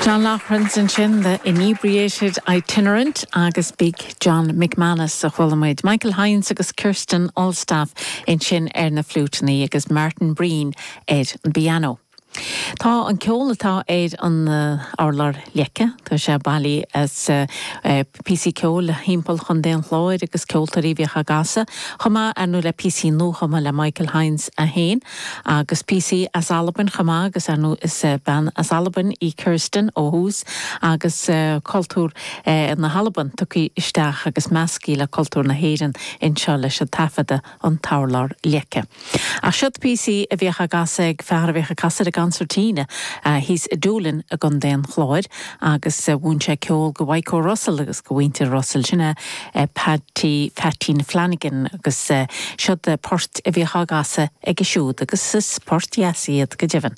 John Loughran ansin, The Inebriated Itinerant agus Big John McManus a chuala muid. Michael Hynes agus Kirsten Alstaff ansin ar na fliúiteanna agus Martin Breen ar an bpianó. Tá an ceol atá ar an urlár leice, tá sé bailithe as píosaí ceoil thimpeall Chontae an Chláir agus ceoltóirí a bhíodh á gcasadh, chomh maith, ar ndóigh, le píosaí nuachumtha le Michael Hynes é féin agus píosaí as Albain chomh maith agus, ar ndóigh, is bean as Albain í Kirsten ó thús agus cultúr na hAlban tugtha isteach agus measctha le cultúr na hÉireann anseo leis an taifeadadh An tUrlár Leice. Ach siod píosaí a bhíodh á gcasadh ag fear a bhíodh ag casadh ar an gconsairtín thíos i Doolin i gContae an Chláir agus mhúin sé ceol go Mhaidhc Russell agus go mhuintir Russell. Sin é Paddy Pheaitín Flanagan agus siod poirt a bhíodh á gcasadh aige siúd agus is poirt dheasa iad go deimhin.